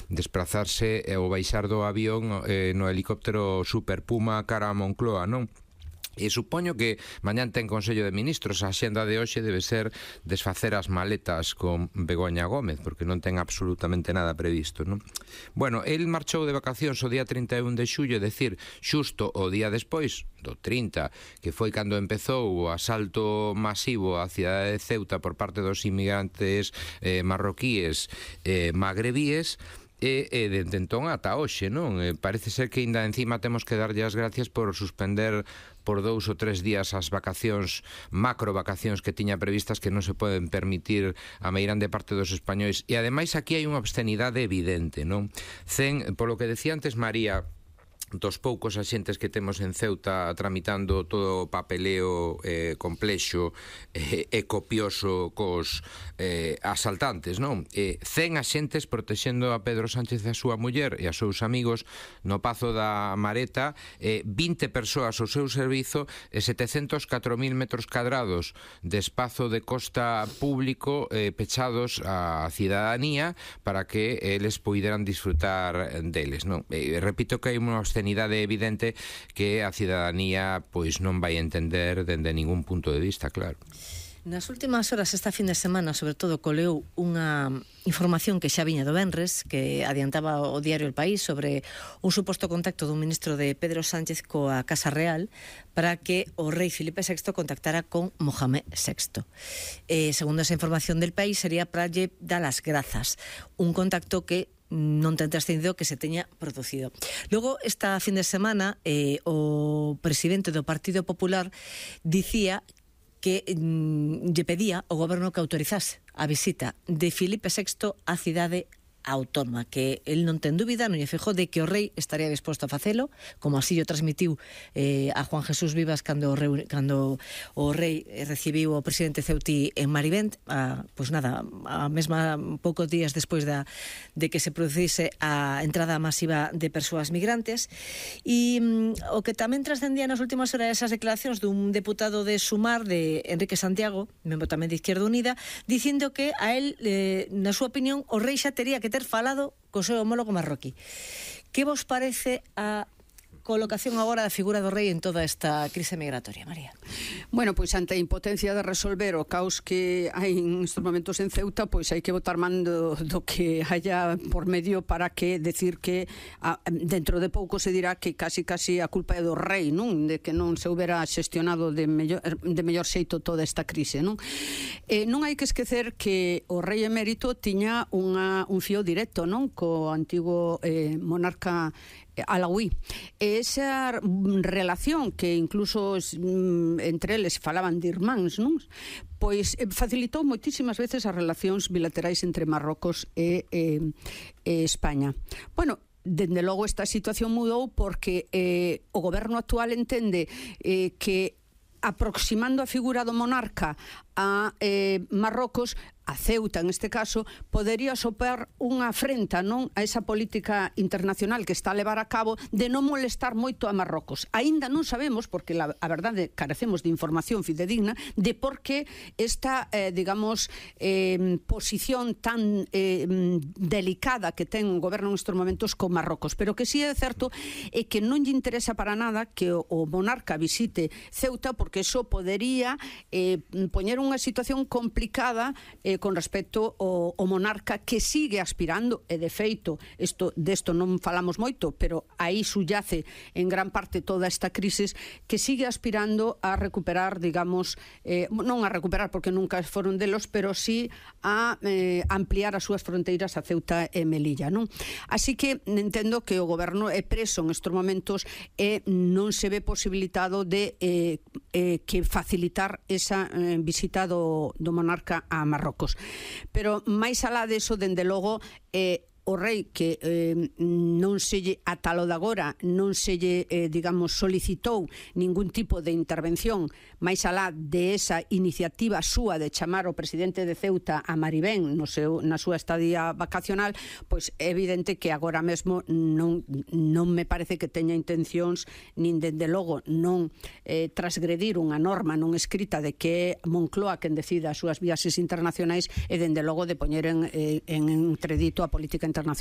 desplazarse ou baixar do avión no helicóptero Super Puma cara a Moncloa, non? E supoño que mañán ten Consello de Ministros. A xenda de hoxe debe ser desfacer as maletas con Begoña Gómez, porque non ten absolutamente nada previsto, non? Bueno, el marchou de vacacións o día 31 de xullo, é dicir, xusto o día despois do 30, que foi cando empezou o asalto masivo á cidade de Ceuta por parte dos inmigrantes marroquíes magrebíes. E dende entón ata hoxe, non? Parece ser que ainda encima temos que darlle as gracias por suspender por 2 ou 3 días as vacacións, macro vacacións que tiña previstas, que non se poden permitir a meirande parte dos españois. E ademais aquí hai unha obscenidade evidente, non? Polo que decía antes María, dos poucos axentes que temos en Ceuta tramitando todo o papeleo complexo e copioso cos asaltantes, non? 100 axentes protexendo a Pedro Sánchez e a súa muller e a seus amigos no Pazo da Mareta, 20 persoas ao seu servizo e 704.000 metros cadrados de espazo de costa público pechados á cidadanía para que eles poideran disfrutar deles, non? Repito que hai unha obscenidade evidente que a cidadanía pois non vai entender dende ningún punto de vista, claro. Nas últimas horas, esta fin de semana, sobre todo, coleu unha información que xa viña do venres, que adiantaba o diario El País sobre un suposto contacto dun ministro de Pedro Sánchez coa Casa Real para que o rei Filipe VI contactara con Mohamed VI. Segundo esa información del País, sería para lle dar as grazas. Un contacto que non ten trascendido que se teña producido. Logo, esta fin de semana, o presidente do Partido Popular dicía que lle pedía ao goberno que autorizase a visita de Filipe VI á cidade autónoma, que el non ten dúbida, non lle fixou de que o rei estaría disposto a facelo, como así o transmitiu a Juan Jesús Vivas cando o rei recibiu o presidente ceutí en Marivent, pois nada, a mesma poucos días despois de que se producise a entrada masiva de persoas migrantes. E o que tamén trascendía nas últimas horas esas declaracións dun deputado de Sumar, de Enrique Santiago, membro tamén de Izquierda Unida, dicindo que a él, na súa opinión, o rei xa tería que ter falado co seu homólogo marroquí. Que vos parece a colocación agora da figura do rei en toda esta crise migratoria, María? Bueno, pois ante a impotencia de resolver o caos que hai en estes momentos en Ceuta, pois hai que botar mando do que haya por medio para que decir que dentro de pouco se dirá que casi a culpa é do rei, non? De que non se houbera xestionado de mellor xeito toda esta crise, non? Non hai que esquecer que o rei emérito tiña un fío directo, non? Co antigo monarca alauí. Esa relación que incluso entre eles falaban de irmáns, non? Pois facilitou moitísimas veces as relacións bilaterais entre Marrocos e España. Bueno, dende logo esta situación mudou porque o goberno actual entende que aproximando a figura do monarca a Marrocos, a Ceuta en este caso, podería sopar unha afrenta, non, a esa política internacional que está a levar a cabo de non molestar moito a Marrocos. Aínda non sabemos, porque a verdade carecemos de información fidedigna, de por que esta, digamos, posición tan delicada que ten o goberno nestes momentos con Marrocos. Pero que sí é certo é que non lle interesa para nada que o monarca visite Ceuta, porque eso podería poñer unha situación complicada con respecto ao monarca, que sigue aspirando, e de feito desto non falamos moito, pero aí subyace en gran parte toda esta crisis, que sigue aspirando a recuperar, digamos, non a recuperar porque nunca foron delos, pero sí a ampliar as súas fronteiras a Ceuta e Melilla, non? Así que entendo que o goberno é preso en estes momentos e non se ve posibilitado de que facilitar esa visita do monarca a Marrocos. Pero máis alá deso, dende logo, o rei que non se lle ata lo de agora non se lle, digamos, solicitou ningún tipo de intervención máis alá de esa iniciativa súa de chamar o presidente de Ceuta a Marivén na súa estadía vacacional, pois é evidente que agora mesmo non me parece que teña intencións, nin dende logo non transgredir unha norma non escrita de que é Moncloa quen decida as súas viaxes internacionais, e dende logo de poñer en entredito a política internacional Internacional